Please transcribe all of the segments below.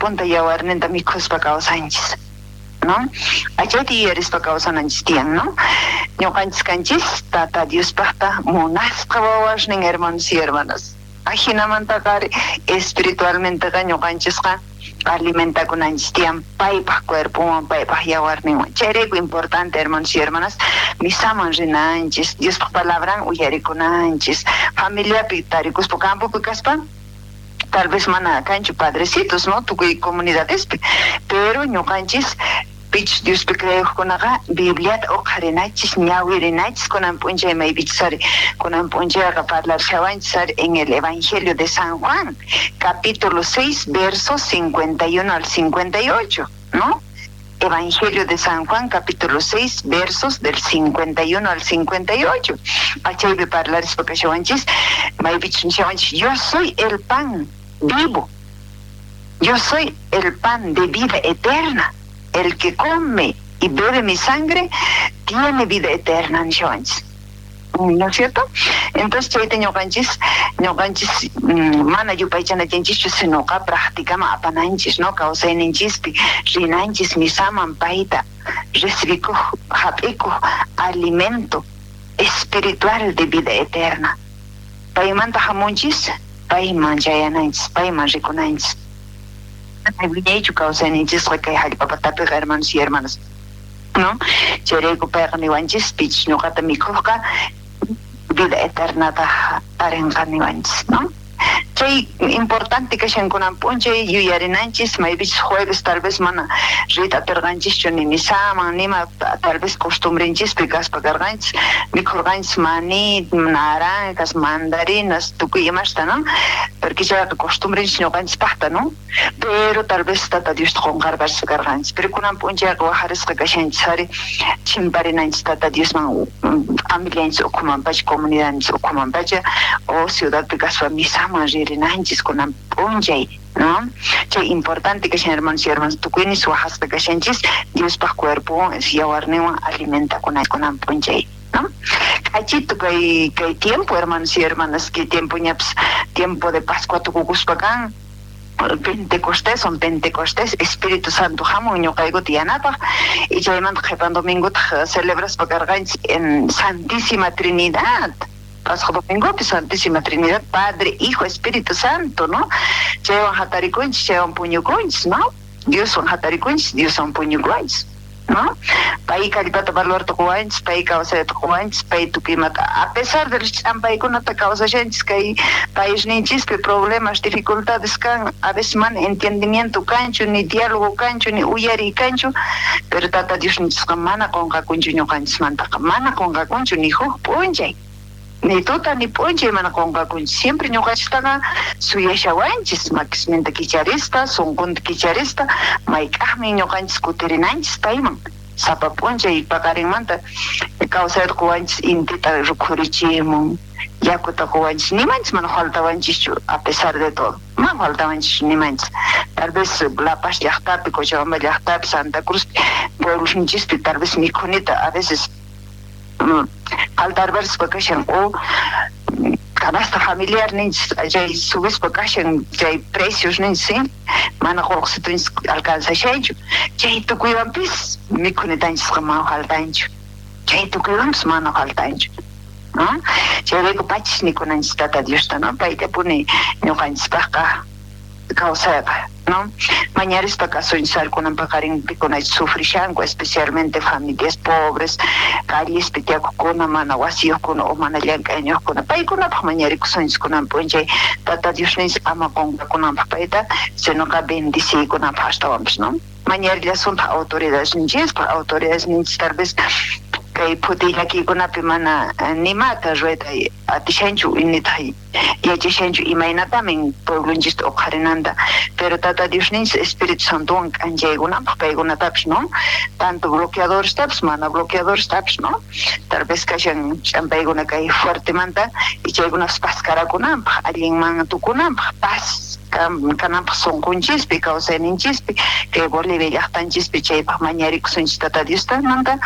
cuerponta yawarninta mikhuspa kawsanchis, no? Achayta yuyarispa kawsananchis tiyan, no? Ñuqanchis kanchis Tata Diospajta munasqa wawasnin, hermanos y hermanas. Ajinamantaqa ari espiritualmenteqa ñuqanchisqa alimentakunanchis tiyan paypaj cuerponwan, paypaj yawarninwan. Chayrayku importante, hermanos y hermanas, misaman rinanchis, Diospaj palabran uyarikunanchis, familiapi tarikuspa, campopi kaspa, tal vez mana kanchu padrecitos, no, tukuy comunidadespi, pero ñuqanchis pichus Diospi creejkunaqa Bibliata uqharinachis, ñawirinachis kunan p'unchay maypichus ari kunan p'unchayqa parlarishawanchis ari en el Evangelio de San Juan, capítulo 6, versos 51 al 58, ¿no? Evangelio de San Juan, capítulo 6, versos del 51 al 58. Achaypi parlarispa kashawanchis, maypichus nishawanchis, yo soy el pan vivo, yo soy el pan de vida eterna, el que come y bebe mi sangre tiene vida eterna, nishawanchis. ¿No es cierto? Entonces chayta ñuqanchis mana yupaychanachanchischu, sinoqa practicaman apananchis, ¿no? Kawsayninchispi rinanchis misaman payta recibikuj, hap'ikuj alimento espiritual de vida eterna. Paymanta hamunchis, payman chayananchis, payman rikunanchis. Wiñaychu kawsayninchisqa kay hallp'a patapiqa, hermanos y hermanas, ¿no? Chayrayku payqa niwanchis, pichus ñuqata mikhujqa vida eternata tarinqa niwanchis, ¿no? Chay importante kashan kunan p'unchay yuyarinanchis, maypichus jueves tal vez mana riyta atirqanchischu ni misaman, nima tal vez costumbrenchispi kaspa karqanchis, mikhurqanchis maní, naranjas, mandarinas, tukuy imasta, ¿no? Porque chayqa costumbrenchis ñuqanchispaqta, ¿no? Pero tal vez Tata Diosta qunqarpaspa karqanchis. Pero kunan p'unchayqa wajarisqa kashanchis ari chimparinanchis Tata Diosman, familianchis ukhumanpacha, comunidadninchis ukhumanpacha, o ciudadpi kaspa misaman ririnanchis kunan p'unchay, ¿no? Chay importante kashan, hermanos y hermanas, tukuynis wajasqa kashanchis Diospaj cuerpowan yawarninwan alimentakunanchis kunan p'unchay, ¿no? K'achitu kay tiempo, hermanos y hermanas, kay tiempo ñapis tiempo de Pascua tukukuspa kan. Pentecostés, son Pentecostés, Espíritu Santo hamun ñuqaykuta yanapaj, y chaymanta qhipan domingotaq celebraspa karqanchis en Santísima Trinidad, pasaq domingopi Santísima Trinidad, Padre, Hijo, Espíritu Santo, ¿no? Chaywan hatarikunchis, chaywan puñukunchis, ¿no? Dioswan hatarikunchis, Dioswan puñukunchis, ¿no? Pay kallpata valorta quwanchis, pay kawsayta quwanchis, pay tukuy imata, a pesar de los ch'ampaykunata kawsashanchis kay paisninchispi problemas, dificultades kan, a veces mana entendimiento kanchu, ni diálogo kanchu, ni uyariy kanchu, pero Tata Diosninchisqa mana qunqakunchu ñuqanchismantaqa, mana qunqakunchu ni huk p'unchay, ni tuta ni p'unchay mana qunqakunchu, siempre ñuqanchistaqa suyashawanchis, makisninta kicharispa, sunqunta kicharispa, mayk'aqmi ñuqanchis kutirinanchis payman, sapa p'unchay paqarinmanta kawsayta quwanchis, intita rukhurichimun, yakuta quwanchis, nimanchis mana faltawanchischu a pesar de todo, mana faltawanchischu nimanchis, tal vez La Paz llaqtapi, Cochabamba llaqtapi, Santa Cruz pueblosninchispi tal vez mikhunita a veces faltarparispa kashan, o canasta familiar ninchis chay subispa kashan, chay precios ninchis, ¿sí? Mana qullqisitunchis alcanzashanchu, chay tukuywanpis mikhunitanchisqa mana faltanchu, chay tukuywanpis mana faltanchu, ¿no? Chayrayku pachis nikunanchis Tata Diosta, ¿no? Payllapuni ñuqanchispaqqa kawsayqa, ¿no? Mañarispa kasunchis kunan paqarin pikunachus sufrishanku, especialmente familias pobres, callespi tiyakujkuna, mana wasiyuqkuna o mana llank'ayniyuqkuna, paykunapaq mañarikusunchis kunan p'unchay Tata Diosninchis ama qunqakunanpaq payta, sinoqa bendiciykunanpaq astawanpis, ¿no? Mañarillasuntaq autoridadesninchispaq, autoridadesninchis tal vez kay phutiy llakiykunapi mana nimata ruwayta atishanchu, nitaq yachashanchu imaynatamin pueblonchista uqharinanta, pero Tata Diosninchis Espíritu Santowan k'anchaykunanpaq paykunatapis, ¿no? Tanto bloqueadorestapis, mana bloqueadorestapis, ¿no? Tal vez kashan ch'ampaykuna kay fuertemanta y chaykunapas paskarakunanpaq, allinman tukunanpaq, paz. kananpaj sonqonchispi, kawsayninchispi, kay Bolivia llajtanchispi, chaypaj mañarikusunchis Tata Diosta manta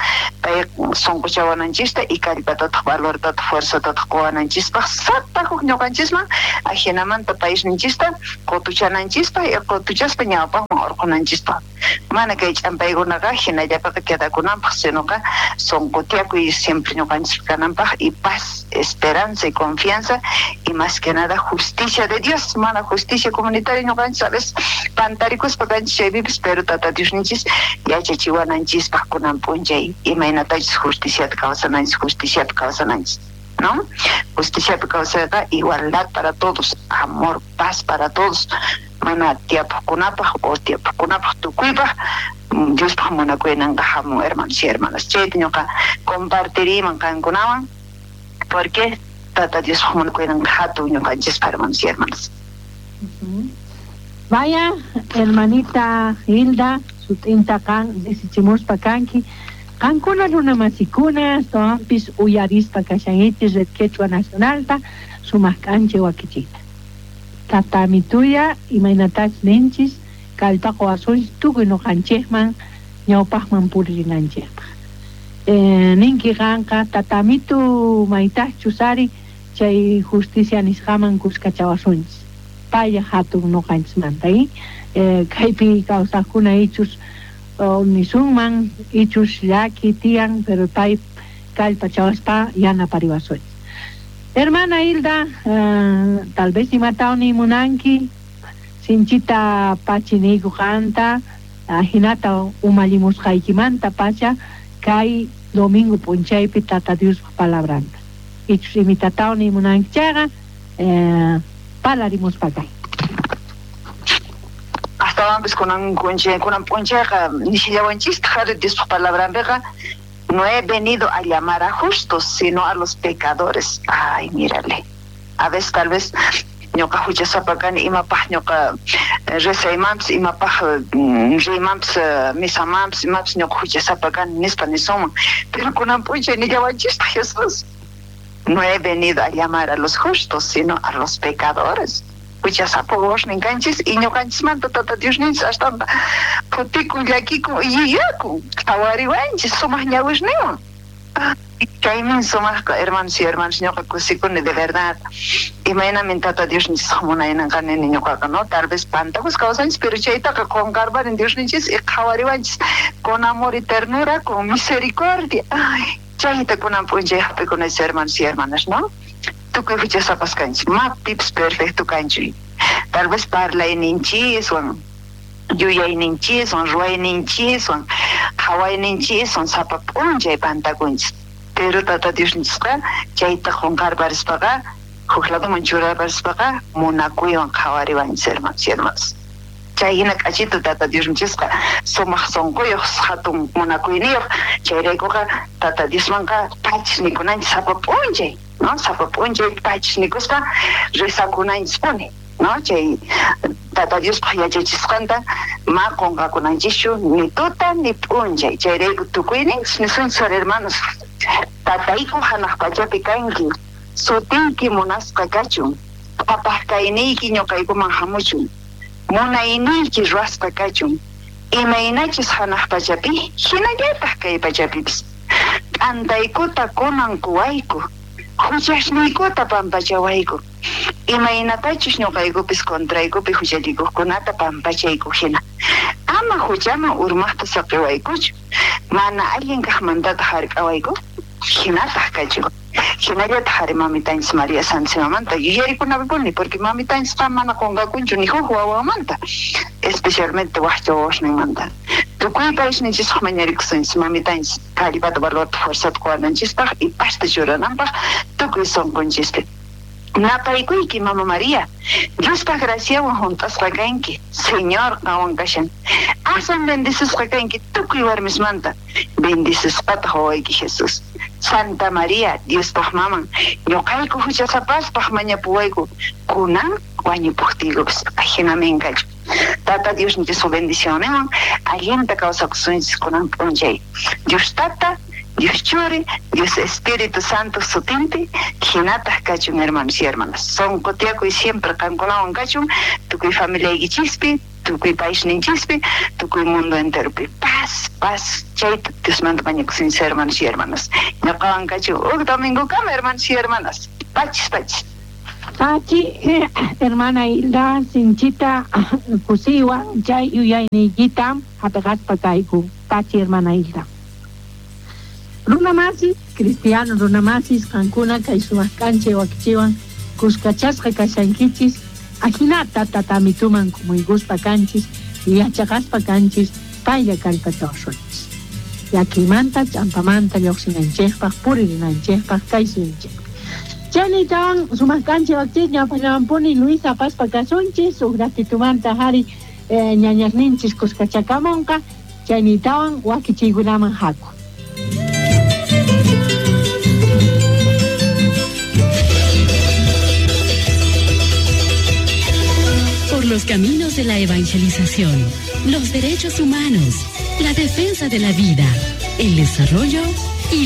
pay sonqochawananchista y kallpatataj, valortataj, fuerzatataj qowananchispaj sapa huk ñoqanchisman, ajinamanta paisninchista qotuchananchispaj y qotuchaspa ñawpajman orqhonanchispaj. Mana kay ch'ampaykunaqa jinallapiqa quedakunanpaj, sinoqa sonqo tiyakuy siempre ñoqanchispi kananpaj y paz, esperanza y confianza y más que nada justicia de Dios, mana justicia comunitaria ñoqanchis a veces pantarikuspa kanchis chaypipis, pero Tata Diosninchis yachachiwananchispaj kunan p'unchay imaynatachus justiciata kawsananchis, justiciapi kawsananchis, ¿no? Justiciapi kawsayqa igualdad para todos, amor, paz para todos, mana tiyapojkunapaj o tiyapojkunapaj tukuypaj Diospaj munakuynanqa jamun, hermanos y hermanas. Chayta ñoqa compartiriyman qankunawan, porque Tata Diospaj munakuynanqa jatun ñoqanchispaj, hermanos y hermanas. Vaya, hermanita Hilda, sut'inta qan risichimuspa kanki. Qankuna runamasikuna, astawanpis uyarispa kashankichis Red Quechua Nacionalta, sumaq k'anchay wakichiyta. Tata amituya, imaynatachus ninchis, kallpa qowasunchis tukuy noqanchejman ñawpajman puririnanchejpaj. Ninki qanqa, Tata amitu, maytajchus ari chay justicia nisqaman kuskachawasunchis. Paylla jatun noqanchismanta, kaypi kawsajkuna ichus nisunman, ichus llaki tiyan, pero pay kallpachawaspa yanapariwasunchis. Hermana Hilda, tal vez imatawan nimunanki, sinchita pachi niyku qanta, ajinata umallimusqaykimanta pacha kay domingo p'unchaypi Tata Diospaj palabranta. Ichus imitatawan nimunanki chayqa, parlarimuspa kay. Astawanpis kunan kunan p'unchayqa nishillawanchistaj ari Diospaj palabranpiqa, no he venido a llamar a justos, sino a los pecadores. Ay, mírale. A veces tal vez ñoqa huchasapa kani, imapaj ñoqa rezaymanpis, imapaj riymanpis, misamanpis, imapis ñoqa huchasapa kani nispa nisunman. Pero kunan p'unchay nillawanchistaj Jesús, no he venido a llamar a los justos, sino a los pecadores. Huchasapa wawasnin kanchis y ñoqanchismanta Tata Diosninchis astanta phutikun, llakikun y yuyakun, qhawariwanchis sumaq ñawisninwan. Chaymin sumajqa, hermanos y hermanas, ñoqa kusikuni de verdad. Imaynamin Tata Diosninchis munaynanqa nini ñoqaqa, no? Tal vez pantakus kawsanchis, pero chaytaqa qonqarparin Diosninchis y qhawariwanchis con amor y ternura, con misericordia. Ay, chayta kunan p'unchay hap'ikunachis, hermanos y hermanas, no? Tukuy huchasapas kanchis, ma pipis perfecto kanchu. Tal vez parlayninchiswan, yuyayninchiswan, ruwayninchiswan, qhawayninchiswan sapa p'unchay pantakunchis. Pero Tata Diosninchisqa chayta qonqarparispaqa, huk ladoman churarparispaqa munakuywan qhawariwanchis, hermanos y hermanas. Chay hina k'achito Tata Diosninchisqa sumaq sonqoyoj, hatun munakuyniyoj. Chayraykuqa Tata Diosmanqa pachis nikunanchis sapa p'unchay, no? Sapa p'unchay pachis nikuspa rezakunanchispuni, no? Chay Tata Diospaj yachachisqanta ma qonqakunanchischu ni tuta ni p'unchay. Chayrayku tukuyninchis nisunchis, hermanos, Tatayku hanaq pachapi kanki, sutiyki munasqa kachun, qhapaq kayniyki ñoqaykuman hamuchun, munayniyki ruwasqa kachun, imaynachus hanaq pachapi, hinallataj kay pachapipis. T'antaykuta kunan quwayku, huchasniykuta pampachawayku, imaynatachus ñoqaykupis contraykupi huchallikuqkunata pampachayku hina. Ama huchaman urmaqta saqiwaykuchu, mana allin kaqmantataq hark'awayku, hinataq kachun. Hinallataq ari mamitanchis María Santísimamanta yuyarikunapipuni, porque mamitanchisqa mana qonqakunchu ni huk wawanmanta, especialmente wajcha wawasninmanta. Tukuy paisninchispaq mañarikusunchis mamitanchis kallpata, valorta, fuerzata qowananchispaq y pasta churananpaq tukuy sonqonchispi. Napaykuyki, Mama María, Diospaj graciawan hunt'asqa kanki, Señor qanwan kashan. Aswan bendecisqa kanki tukuy warmismanta, bendecisqataq wawayki Jesús. Santa María, Diospaj maman, ñoqayku huchasapaspaj mañapuwayku, kunan wañupuqtiykupis. Ajinamin kachun. Tata Diosninchis bendicionninwan allinta kawsakusunchis kunan p'unchay. Dios Tata, Dios Churi, Dios Espíritu Santo sutinpi, hinataq kachun hermanos y hermanas. Sonqo tiyakuy siempre qankunawan kachun, tukuy familiaykichispi, tukuy paisninchispi, tukuy mundo enteropi. Paz, paz, chayta Diosmanta mañakusunchis hermanos y hermanas. Ñuqawan kachun huk domingokama hermanos y hermanas. Pachis, pachis. Pachi, hermana Hilda, sinchita kusiywan chay yuyayniykita hap'iqaspa kayku. Pachi, hermana Hilda. Runamasis, cristiano runamasis, qankuna kay sumaq k'anchay wakichiwan kuskachasqa kashankichis, ajinata tatamituman kumuykuspa kanchis, yachaqaspa kanchis, paylla kallpachawasunchis. Llakiymanta, ch'ampamanta lluqsinanchikpaq, puririnanchikpaq, kay suyunchikpi. Chaynitawan sumaq k'anchay wakichis ñawpallawanpuni Luisa apaspa kasunchis, huk ratitumanta hari ñañasninchis kuskachakamunqa, chaynitawan wakichiykunaman haku. Por los caminos de la evangelización, los derechos humanos, la defensa de la vida, el desarrollo